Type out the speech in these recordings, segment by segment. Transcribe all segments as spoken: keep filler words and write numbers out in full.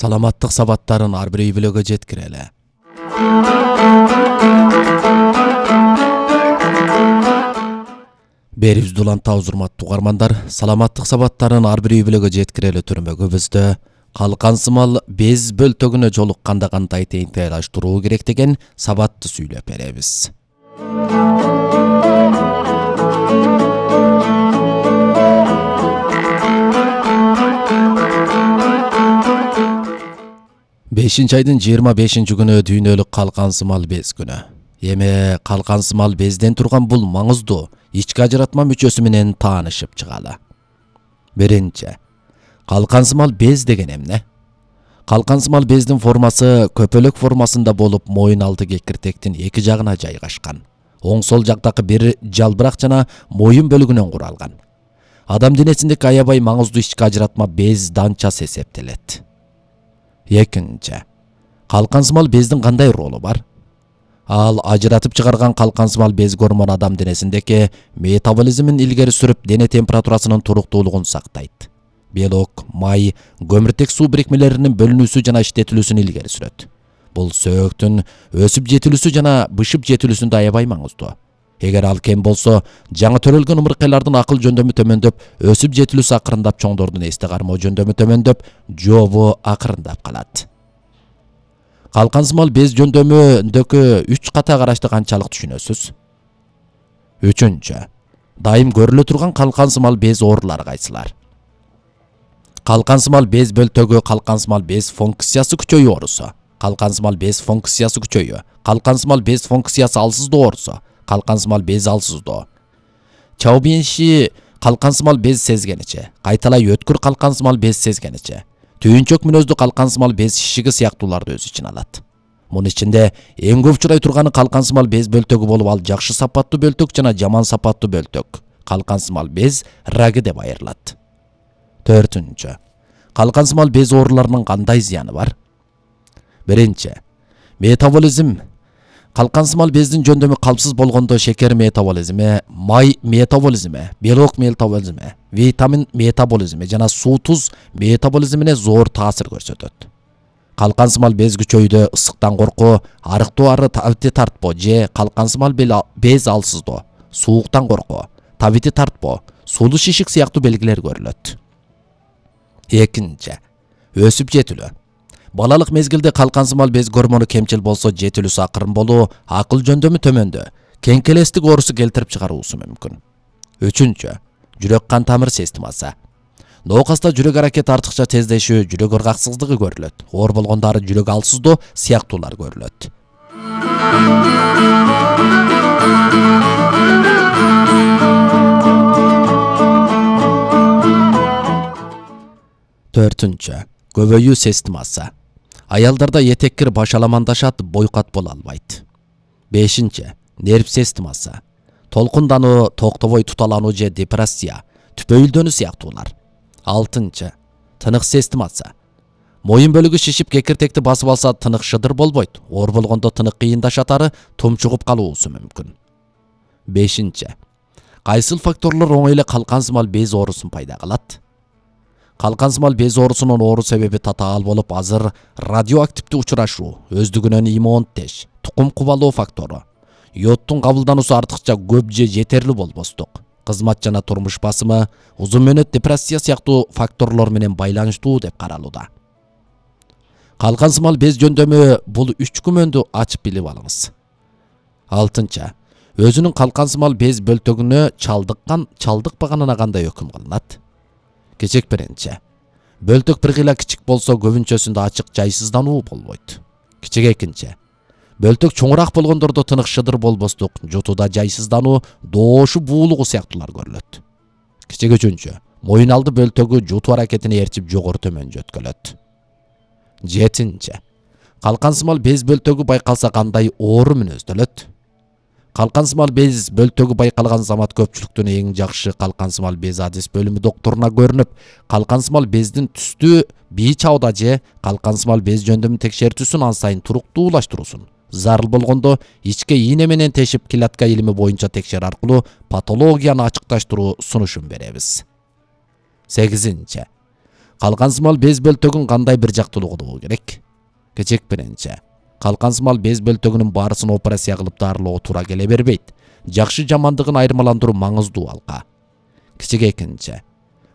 Саламаттык сабаттарын ар бир үй бүлөгө жеткирели. Берибизди улантабыз, урматтуу угармандар. Саламаттык сабаттарын ар бир үй бүлөгө жеткирели түрмөгүбүздө калкан сымал без бөлтөгүнө жолукканда кандай теңдейлаштыруу керек деген сабатты сүйлөп беребиз. бешинчи айдын жыйырма бешинчи күнү дүйнөлүк калкан сымал без күнү. Эми калкан сымал безден турган бул маңыздуу ички ажыратма мүчөсү менен таанышып чыгалы. Биринчи, калкан сымал без деген эмне? Калкан сымал бездин формасы көпөлөк формасында болуп, моюн алды кекиртектин эки жагына жайгашкан. Оң сол жактагы бир жалбырак жана моюн бөлүгүнөн куралган. Адам денесиндеги аябай маңыздуу ички ажыратма без данчасы эсептелет. Экинчи, калкан сымал бездин кандай ролу бар? Ал ажыратып чыгарган калкан сымал без гормон адам денесиндеги метаболизмин илгери сүрүп, дене температурасынын туруктуулугун сактайт. Белок, май, көмүртек суу бирикмелеринин бөлүнүүсү жана иштетилүүсүн илгери сүрөт. Бул сөөктүн өсүп жетилүүсү жана бышып жетилүүсүндө аябай маңыздуу. Эгер ал кем болсо, жаңы төрөлгөн ымыркайлардын акыл жөндөмү төмөндөп, өсүп жетилүүсү акырындап, чоңдордун эсте кармоо жөндөмү төмөндөп, жообу акырындап калат. Калкан сымал без жөндөмүндөгү үч ката карашты канчалык түшүнөсүз? Үчүнчү, дайым көрүлө турган калкан сымал без оорулары кайсылар? Калкан сымал без бөлтөгү калкан сымал без функциясы күчөйүү оорусу, калкан сымал без функциясы күчөйүү, калкан сымал без функциясы алсыздоо оорусу, калкан сымал без алсыздоо. Чаубинши калкан сымал без сезгеничи, кайталай өткүр калкан сымал без сезгеничи, түйүнчөк мүнөздүү калкан сымал без шишиги сыяктууларды өз ичине алат. Мунун ичинде эң көп учурай турганы калкан сымал без бөлтөгү болуп, ал жакшы сапаттуу бөлтөк жана жаман сапаттуу бөлтөк, калкан сымал без раги деп айырылат. Төртүнчү, калкан сымал без ооруларынын кандай зыяны бар? Биринчи, метаболизм. Калкан сымал бездин жөндөмү калпсыз болгондо шекер метаболизми, май метаболизми, белок метаболизми, витамин метаболизми жана суу туз метаболизмине зор таасир көрсөтөт. Калкан сымал без күчөйдө ысыктан коркуу, арыктоо ары табити тартпоо же калкан сымал без алсыздоо, сууктан коркуу, табити тартпоо, сулуу шишик сыяктуу белгилер көрүлөт. Экинчи, өсүп жетилүү. Балалык мезгилде калкан сымал без гормону кемчил болсо, жетилүүсү акырын болуу, акыл жөндөмү төмөндө, кеңкелестик оорусу келтирип чыгаруусу мүмкүн. Үчүнчү, жүрөк кан тамыр системасы. Ноокаста жүрөк аракети артыкча тездешүү, жүрөк ыргаксыздыгы көрүлөт. Оор болгондары жүрөк алсыздоо сыяктуулар көрүлөт. Төртүнчү, көбөйүү системасы. Аялдарда этеккир башаламандашат, бойкат боло албайт. Бешинчи, нерв системасы. Толкундануу, токтобой туталануу же депрессия, түпөйүлдөнүү сыяктуулар. Алтынчы, тынык системасы. Моюн бөлүгү шишип, кекиртекти басып алса, тынык шыдыр болбойт. Оор болгондо тынык кыйындашатары, тумчугуп калуусу мүмкүн. Бешинчи, кайсыл факторлор оңой эле калкан сымал без оорусун пайда кылат? Калкан сымал без оорусунун оору себеби татаал болуп, азыр радиоактивдүү учурашуу, өздүгүнөн иммунтеш, тукум кубалоо фактору, йодтун кабылдануусу артыкча көп же жетерлүү болбостук, кызмат жана турмуш басымы, узун мөөнөт депрессия сыяктуу факторлор менен байланыштуу деп каралууда. Калкан сымал без жөндөмү бул үч күмөндү ачып билип алыңыз. Алтынчы, өзүнүн калкан сымал без бөлтөгүнө чалдыккан, чалдыкпаганына кандай өкүм кылынат? Кечек биринчи, бөлтөк бир кыйла кичик болсо, көбүнчөсүндө ачык жайсыздануу болбойт. Кичек экинчи, бөлтөк чоңураак болгондордо тынык шыдыр болбостук, жутууда жайсыздануу, доошуу буулугу сыяктуулар көрүлөт. Кичек үчүнчү, моюн алды бөлтөгү жутуу аракетини ээрчип жогору төмөн жөткөлөт. Жетинчи, калкан сымал без бөлтөгү байкалса кандай оору мүнөздөлөт? Калкан сымал без бөлтөгү байкалган замат көпчүлүктүн эң жакшы калкан сымал без адис бөлүмү доктуруна көрүнүп, калкан сымал бездин түстү бий чабыда же калкан сымал без жөндөмү текшертүүсүн ан сайын туруктуулаштыруусун, зарыл болгондо ичке ийне менен тешип, клетка илими боюнча текшер аркылуу патологияны ачыкташтыруу сунушун беребиз. Сегизинчи, калкансымал без бөлтөгүн кандай бир жактуулугу болуу керек? Кичек биринчи. Калкансымал без бөлтөгүнүн баарысын операция кылып дарылоо туура келе бербейт. Жакшы жамандыгын айырмаландыруу маңыздуу алга. Кичек экинчи.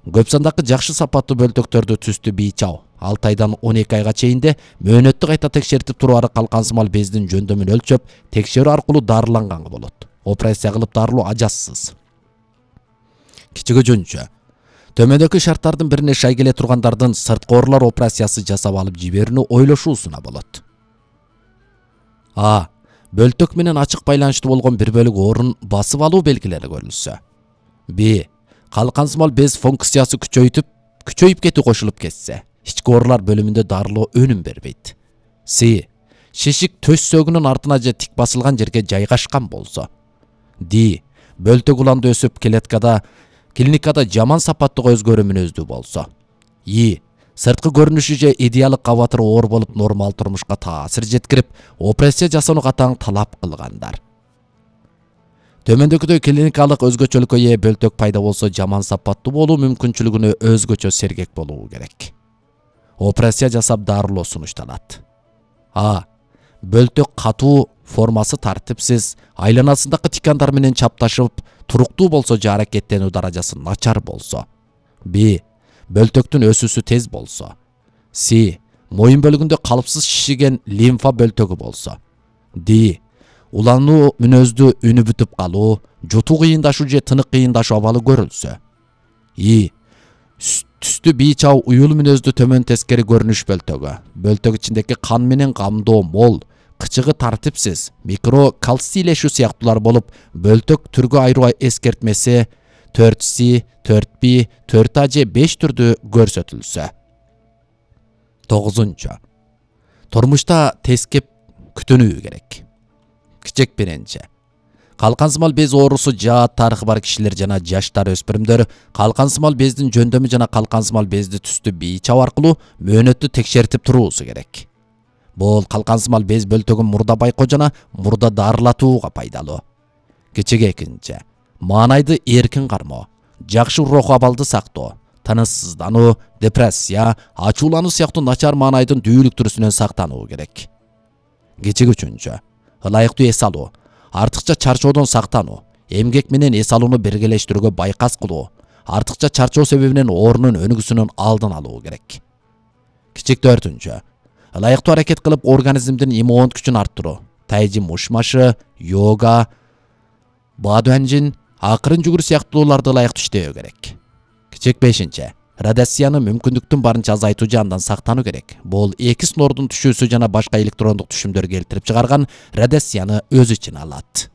Көп сандагы жакшы сапаттуу бөлтөктөрдү түстү бийчау алты айдан он эки айга чейинде мөөнөттү кайта текшертип туруп калкансымал бездин жөндөмүн өлчөп, текшерүү аркылуу дарыланганга болот. Операция кылып дарылоо ажассыз. Кичек үчүнчү. Төмөндөгү шарттардын бирине шай келе тургандардын сырткы оорулар операциясы жасап алып жиберүүнү ойлошуусуна болот. А. Бөлтөк менен ачык байланыштуу болгон бир бөлүк оорун басып алуу белгилери көрүлсө. Б. Калкансымал без функциясы күчөйтүп, күчөйүп кетүү кошулуп кетсе, ички оорулар бөлүмүндө дарылоо өнүм бербейт. С. Шишик төс сөгүнүн артына же тик басылган жерге жайгашкан болсо. Д. Бөлтөк уланды өсүп клеткада, клиникада жаман сапаттуу өзгөрүү мүнөздүү болсо. И. Сырткы көрүнүшү же идеалдык кабатыры оор болуп нормал турмушка таасир жеткирип, операция жасоону катаң талап кылгандар. Төмөндөгүдөй клиникалык өзгөчөлүккө ээ бөлтөк пайда болсо жаман сапаттуу болуу мүмкүнчүлүгүнө өзгөчө сергек болуу керек. Операция жасап дарылоо сунушталат. А. Бөлтөк катуу, формасы тартипсиз, айланасындагы тикандар менен чапташып, туруктуу болсо же аракеттенүү даражасы начар болсо. Б. Бөлтөктүн өсүүсү тез болсо. С. Моюн бөлүгүндө калыпсыз шишиген лимфа бөлтөгү болсо. Д. Улануу мүнөздүү үнү бүтүп калуу, жутуу кыйындашуу же тынык кыйындашуу абалы көрүлсө. И. Түстү бийчау уюл мүнөздүү төмөн тескери көрүнүш бөлтөгү. Бөлтөк ичиндеги кан менен камдоо мол, кычыгы тартипсиз, микро калцийлешүү сыяктуулар болуп, бөлтөк түргө айыруу эскертмеси төрт С, төрт Б, төрт А же беш түрдү көрсөтүлсө. тогузунчу. Турмушта тескеп күтүнүү керек. Кичек биринчи. Калкансымал без оорусу жаат тарыхы бар кишилер жана жаштар өспүрүмдөр калкансымал бездин жөндөмү жана калкансымал безди түстү бийчау аркылуу мөөнөттү текшертип туруусу керек. Бул калкансымал без бөлтөгүн мурда байкоо жана мурда дарылатууга пайдалуу. Кичек экинчи. Маанайды эркин кармоо, жакшы руху абалды сактоо, тыныссыздануу, депрессия, ачуулануу сыяктуу начар маанайдын дүүлүк түрүсүнөн сактануу керек. Кичек үчүнчү. Ылайыктуу эс алуу, артыкча чарчоодон сактануу, эмгек менен эс алууну биргелештирүүгө байкас кылуу, артыкча чарчоо себебинен оорунун өнүгүүсүнүн алдын алуу керек. Кичек төртүнчү. Ылайыктуу аракет кылып организмдин иммундук күчүн арттыруу, тайжи мушмашы, йога, бадуанжин, акырын жүгүрүү сыяктууларды ылайыктуу иштөө керек. Кичек бешинчи. Радиацияны мүмкүндүктүн барынча азайтуу же андан сактануу керек. Бул эки снордун түшүүсү жана башка электрондук түшүмдөр келтирип чыгарган радиацияны өз ичине алат.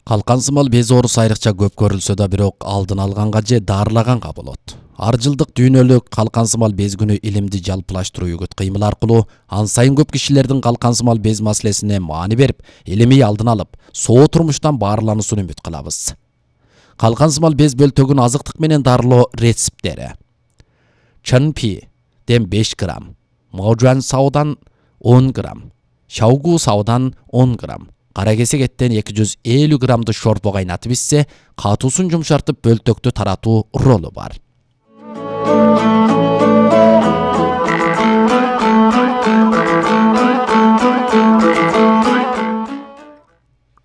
Калкансымал без оорусу айрыкча көп көрүлсө да, бирок алдын алганга же дарылаганга болот. Ар жылдык дүйнөлүк калкансымал без күнү илимди жалпылаштыруу үгүт кыймыл аркылуу ан сайын көп кишилердин калкансымал без маселесине маани берип, илимий алдын алып, соо турмуштан баарылануусун үмүт кылабыз. Калкансымал без бөлтөгүн азыктык менен дарылоо рецепттери. Чынпи-ден беш грамм, Моужуан саудан он грамм, Шаугу саудан он грамм, кара кесек эттен эки жүз элүү граммды шорпо кайнатып ичсе, катуусун жумшартып бөлтөктү таратуу ролу бар.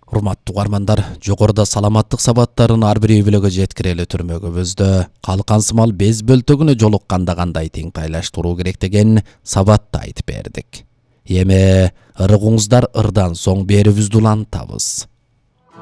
Урматтуу угармандар, жогоруда саламаттык сабаттарын ар бир үй бүлөгө жеткирели түрмөгүбүздө калкансымал без бөлтөгүнө жолукканда кандай теңтайлаштыруу керек деген сабатты айтып бердик. Эми ырыгыңыздар ырдан соң берүүбүздү улантабыз.